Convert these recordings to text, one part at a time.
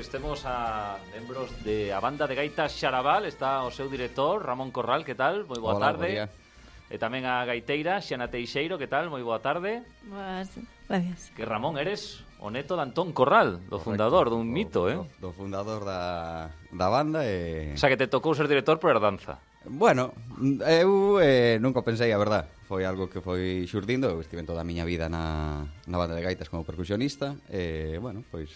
Temos a membros a banda de gaitas Xarabal, está o seu director, Ramón Corral, que tal? Moi boa tarde. E tamén a gaiteira, Xiana Teixeiro, que tal? Moi boa tarde. Boas, gracias. Que Ramón, eres o neto de Antón Corral, do fundador dun mito, Do fundador da banda e... O sea, que te tocou ser director por herdanza. Bueno, eu nunca pensei, a verdad. Foi algo que foi xurdindo. Eu estive toda a miña vida na banda de gaitas como percusionista. E, bueno, pois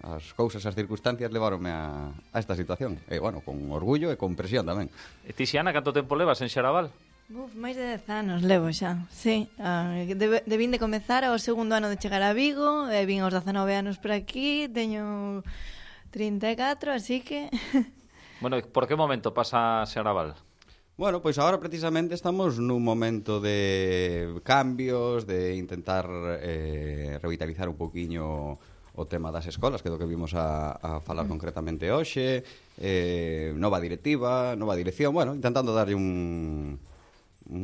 as cousas, as circunstancias levaronme a esta situación. E, bueno, con orgullo e con presión tamén. E ti, Xiana, canto tempo levas en Xarabal? Máis de 10 anos levo xa, sí. Debín de comezar ao segundo ano de chegar a Vigo, e vin aos 19 anos por aquí, teño 34, así que... Bueno, por que momento pasa Xarabal? Bueno, pois agora precisamente estamos nun momento de cambios, de intentar revitalizar un poquinho o tema das escolas, que é do que vimos a falar concretamente hoxe, nova directiva, nova dirección, bueno, intentando darlle un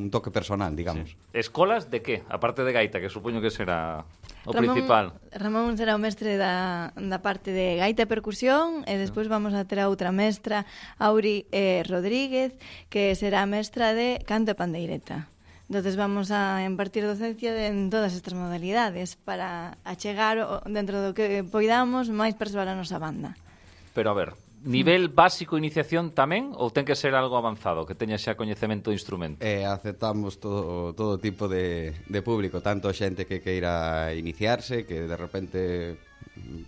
toque personal, digamos. Sí. Escolas de que? Aparte de gaita, que supoño que será o principal. Ramón será o mestre da parte de gaita e percusión, e despois vamos a ter a outra mestra, Auri Rodríguez, que será mestra de canto e pandeireta. Entonces vamos a impartir docencia en todas estas modalidades para achegar dentro do que poidamos máis persoal a nosa banda. Pero a ver, nivel básico iniciación tamén ou ten que ser algo avanzado, que teña xa coñecemento do instrumento? Aceptamos todo tipo de público, tanto xente que queira iniciarse, que de repente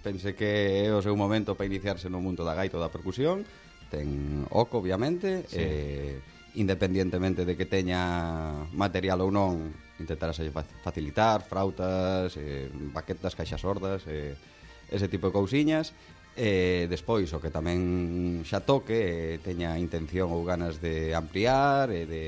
pense que é o seu momento para iniciarse no mundo da gaita ou da percusión, ten oco, obviamente, sí. Independientemente de que teña material ou non, intentar facilitar frautas, baquetas, caixas sordas, ese tipo de cousiñas. Despois, o que tamén xa toque, teña intención ou ganas de ampliar e de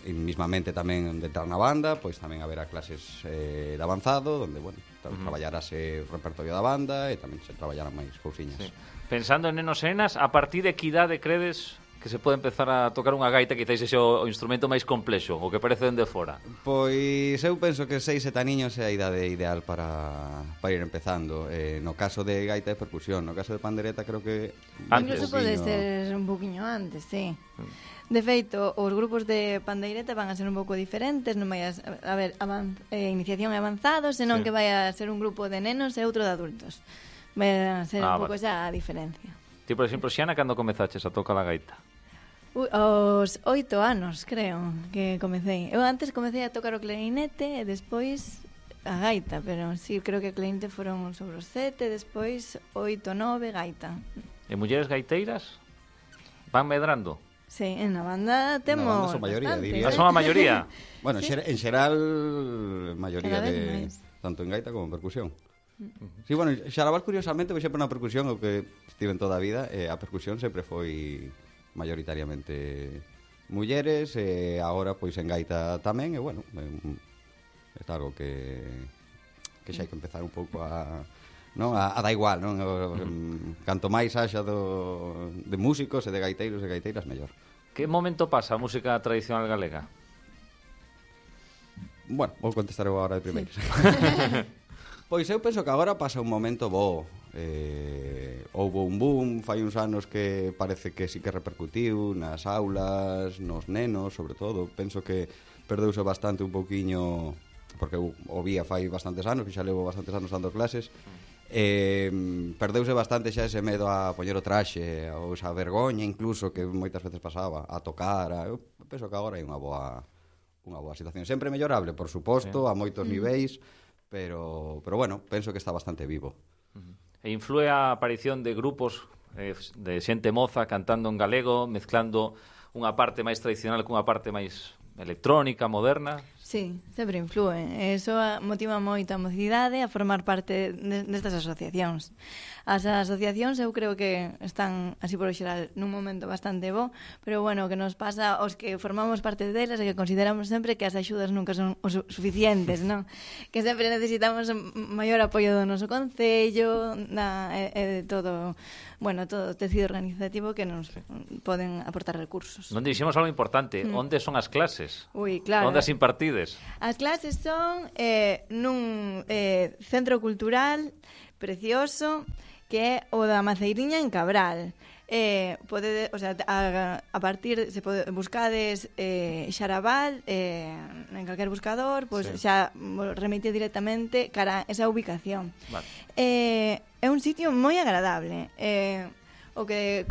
mismamente tamén de entrar na banda, pois tamén haberá clases de avanzado, onde, bueno, traballarase o repertorio da banda e tamén se traballarán máis cousiñas. Sí. Pensando en nenos e nenas, a partir de que idade credes que se pode empezar a tocar unha gaita, quizás ese o instrumento máis complexo, o que parece dende fora? Pois eu penso que 6, 7 aniños é a idade ideal para ir empezando. No caso de gaita e percusión, no caso de pandereta creo que... Incluso pode ser un poquinho antes, sí. De feito, os grupos de pandeireta van a ser un pouco diferentes, non vai a ver iniciación e avanzados, senón que vai a ser un grupo de nenos e outro de adultos. Vai a ser un pouco xa a diferencia. Ti, por exemplo, Xiana, cando comezaches a tocar a gaita? Aos 8 anos, creo, que comecei. Eu antes comecei a tocar o clarinete e despois a gaita, pero sí, creo que o clarinete foron sobre os 7, despois 8, 9, gaita. E mulleres gaiteiras van medrando? Sí, en a banda temos na banda son maioría, diría. Son a maioría? Bueno, sí. En xeral, maioría de tanto en gaita como en percusión. Sí, bueno, Xarabal, curiosamente, por exemplo, na percusión, o que estive en toda a vida, a percusión sempre foi maioritariamente mulleres, e agora, pois, en gaita tamén, e, bueno, é algo que xa hai que empezar un pouco a dar igual, non? Canto máis haxa de músicos e de gaiteiros e gaiteiras, mellor. Que momento pasa a música tradicional galega? Bueno, vou contestar eu agora de primeiros. Pois eu penso que agora pasa un momento bo. Houve un boom fai uns anos que parece que sí que repercutiu nas aulas, nos nenos, sobre todo. Penso que perdeuse bastante un pouquiño, porque eu o vía fai bastantes anos, que xa levo bastantes anos dando clases. Perdeuse bastante xa ese medo a poñer o traxe, ou esa vergoña incluso que moitas veces pasaba a tocar. Eu penso que agora hai unha boa situación, sempre mellorable, por suposto, a moitos niveis, pero bueno, penso que está bastante vivo. E influe a aparición de grupos de xente moza cantando en galego, mezclando unha parte máis tradicional cunha parte máis electrónica, moderna? Sí, sempre influe. Eso motiva moito a mocidade a formar parte destas asociacións. As asociacións eu creo que están, así por xeral, nun momento bastante bo, pero bueno, o que nos pasa aos que formamos parte delas é que consideramos sempre que as axudas nunca son suficientes, non? Que sempre necesitamos maior apoio do noso concello, de todo, bueno, todo o tecido organizativo que nos poden aportar recursos. Non dixemos algo importante, onde son as clases? Ui, claro. Onde as impartides? As clases son nun centro cultural, precioso, que é o da Maceiriña en Cabral. Pode, o sea, a partir se pode buscades Xarabal en calquer buscador, pois sí, xa remite directamente cara a esa ubicación. Vale. É un sitio moi agradable. O que